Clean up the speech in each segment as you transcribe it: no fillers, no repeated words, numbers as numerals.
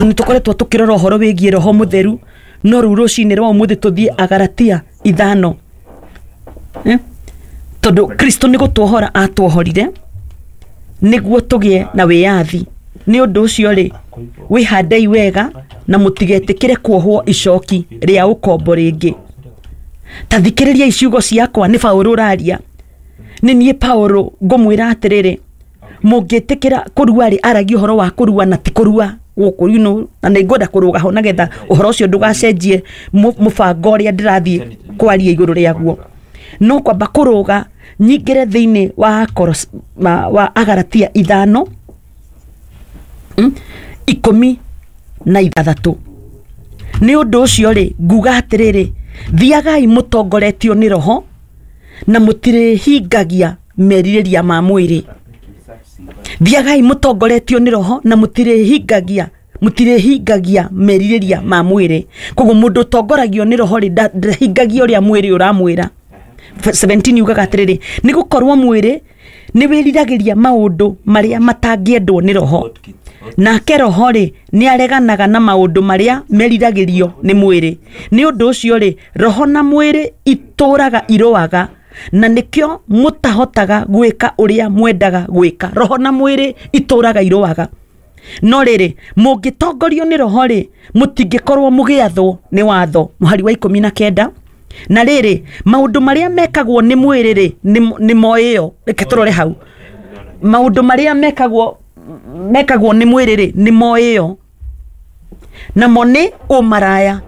Nĩ tũkoretwo tũkĩrora ũhoro wĩgiĩ roho mũtheru, no rĩu rũcinĩ rwa ũmũthĩ tũthiĩ Agaratia 5. Eh? Tondũ Kristo nĩ gũtuohora atuohorire nĩguo tũgĩe na wĩyathi. Nĩ ũndũ ũcio rĩ, wĩhandei wega na mũtigetĩkĩre kuohwo icoki rĩa ũkombo rĩngĩ. Ta thikĩrĩriai ciugo ciakwa, nĩ Paũlũ ũraria. Nĩ niĩ Paũlũ ngũmwĩra atĩrĩrĩ, mũngĩtĩkĩra kũrua rĩ, aragia ũhoro wa kũrua na ti kũrua gũkũ, you know, na nĩ ngwenda kũrũga ho nĩgetha ũhoro ũcio ndũgacenjie mũbango ũrĩa ndĩrathiĩ kwaria igũrũ rĩaguo. No kwamba kũrũga nyingĩre thĩinĩ wa wa Agaratia 5, 16. Nĩ ũndũ ũcio rĩ, nguga atĩrĩrĩ, thiagai mũtongoretio nĩ roho na mũtirĩhingagia merirĩria ma mwĩrĩ. Thiagai mũtongoretio nĩ roho na mũtirĩhingagia merirĩria ma mwĩrĩ. Koguo mũndũ ũtongoragio nĩ roho rĩ, ndahingagia ũrĩa mwĩrĩ ũramwĩra. 17 yugaga atĩrĩrĩ, nĩ gũkorwo mwĩrĩ nĩ wĩriragĩria maũndũ marĩa matangĩendwo nĩ roho, nake roho rĩ nĩ areganaga na maũndũ marĩa meriragĩrio nĩ mwĩrĩ. Nĩ ũndũ ũcio rĩ, roho na mwĩrĩ itũraga irũaga, na nĩkĩo mũtahotaga gwĩka ũrĩa mwendaga gwĩka. Roho na mwĩrĩ itũraga irũaga. No rĩrĩ, mũngĩtongorio nĩ roho rĩ, mũtingĩkorwo mũgĩathwo nĩ watho. Mũhari wa 19. Na rĩrĩ, maũndũ marĩa mekagwo nĩ mwĩrĩ rĩ, nĩ moĩyo. Reke tũrore hau. Maũndũ marĩa mekagwo nĩ mwĩrĩ rĩ, nĩ moĩyo. Namo nĩ ũmaraya.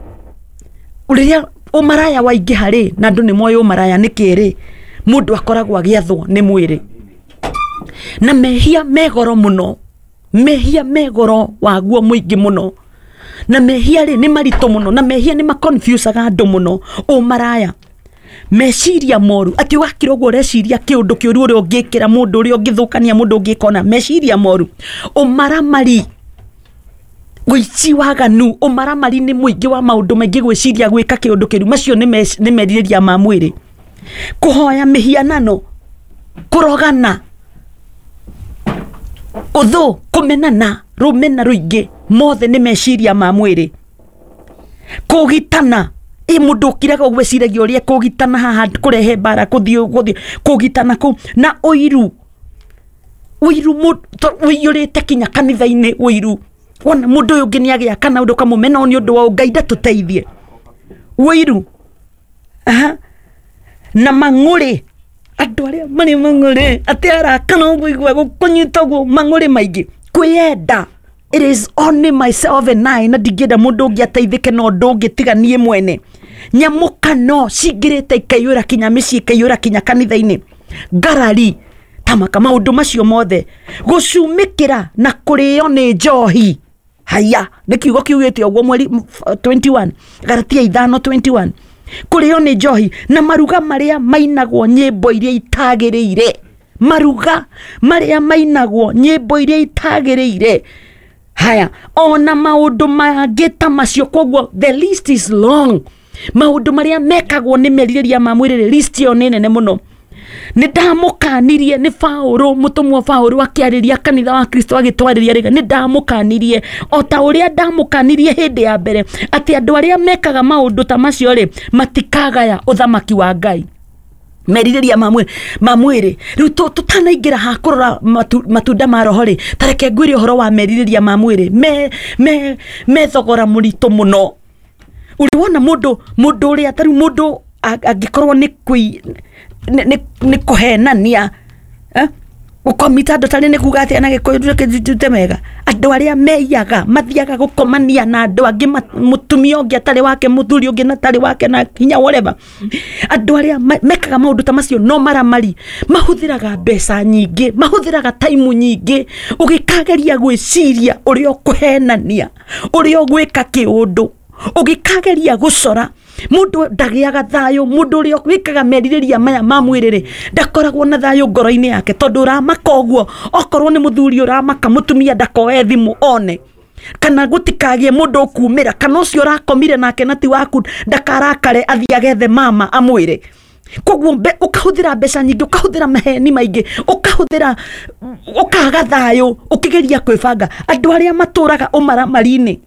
Rĩrĩa ũmaraya waingĩha rĩ, na andũ nĩ moĩ ũmaraya nĩ kĩĩ rĩ, mũndũ akoragwo agĩathwo nĩ mwĩrĩ. Na mehia me goro mũno. Mehia me goro waguo mũingĩ mũno. Na mehia rĩ nĩ maritũ mũno, na mehia nĩ maconfusaga andũ mũno. Ũmaraya, meciria moru, atĩ ũgakira ũguo ũreciria kĩũndũ kĩũru ũrĩa ũngĩkĩra mũndũ, ũrĩa ũngĩthũkania mũndũ ũngĩkona, meciria moru. Ũmaramari, ũici, waganu, ũmaramari nĩ mũingĩ wa maũndũ maingĩ, gwĩciria gwĩka kĩũndũ kĩũru, macio nĩ merirĩria ma mwĩrĩ. Kũhoya mĩhianano, kũrogana, ũthũ, kũmenana, rũmena rũingĩ, mothe nĩ meciria ma mwĩrĩ. Kũgitana, ĩ mũndũ ũkiraga ũguo eciragia ũrĩa kũgitana haha, kũrehe mbara, kũthiĩ kũgitana kũu, na ũiru. Ũiru ũiyũrĩte kinya kanitha-inĩ, ũiru. Wona mũndũ ũyũ ũngĩ nĩagĩa kana ũndũ ũkamũmena nĩ ũndũ wa Ngai ndatũteithie. Ũiru. Aha. Na mang'ũrĩ. Andũ arĩa marĩ mang'ũrĩ, atĩ arakana ũguo igua gũkũnyita ũguo, mang'ũrĩ maingĩ. Kwĩyenda. It is only myself and I, na ndingĩenda mũndũ ũngĩ ateithĩke na ũndũ ũngĩ tiga niĩ mwene. Nyamũkano cingĩrĩte ikaiyũra kinya mĩciĩ, ikaiyũra kinya kanitha-inĩ. Ngarari, tamaka maũndũ macio mothe. Gũcumĩkĩra na kũrĩo nĩ njohi. Haya, nĩ kiugo kiugĩte ũguo mweri 21, Galatia 5:21. Kũrĩo nĩ njohi na maruga marĩa mainagwo nyĩmbo iria itagĩrĩire. Maruga marĩa mainagwo nyĩmbo iria itagĩrĩire. Haya, ona maũndũ mangĩ ta macio, koguo the list is long. Maũndũ marĩa mekagwo nĩ merirĩria ma mwĩrĩ, list ĩyo nĩ nene mũno. Nĩ ndamũkanirie, nĩ Paũlũ, mũtũmwo Paũlũ akĩarĩria kanitha wa Kristo agĩtwarĩria rĩga, nĩ ndamũkanirie o ta ũrĩa ndamũkanirie hĩndĩ ya mbere atĩ andũ arĩa mekaga maũndũ ta macio rĩ, matikagaya ũthamaki wa Ngai. Merirĩria ma mwĩrĩ. Rĩu tũtanaingĩra ha kũrora matunda ma roho rĩ, ta reke ngwĩre ũhoro wa merirĩria ma mwĩrĩ. Me thogora mũritũ mũno. Ũrĩ wona mũndũ ũrĩa ta rĩu mũndũ angĩkorwo nĩ kũhenania, Gũkomita andũ tarĩ nĩ kuga atĩa na Gĩkũyũ reke njute wega. Andũ arĩa meiyaga mathiaga gũkomania na andũ angĩ, mũtumia ũngĩ atarĩ wake, mũthuri ũngĩ na atarĩ wake, na hinya whatever. Andũ arĩa mekaga maũndũ ta macio no maramari, mahũthĩraga mbeca nyingĩ, mahũthĩraga time nyingĩ ũgĩkageria gwĩciria ũrĩa ũkũhenania, ũrĩa ũgwĩka kĩũndũ, ũgĩkageria gũcora. Mũndũ ndagĩaga thayũ, mũndũ ũrĩa wĩkaga merirĩria maya ma mwĩrĩ rĩ, ndakoragwo na thayũ ngoro-inĩ yake, tondũ ũramaka ũguo, okorwo nĩ mũthuri ũramaka, mũtumia ndakoe thimũ one, kana gũtikagĩe mũndũ ũkumĩra, kana ũcio ũrakomire nake na ti waku ndakarakare athiĩ agethe mama amwĩre. Koguo ũkahũthĩra mbeca nyingĩ, ũkahũthĩra maheni maingĩ, ũkaga thayũ ũkĩgeria kwĩbanga. Andũ arĩa matũraga ũmaramari-inĩ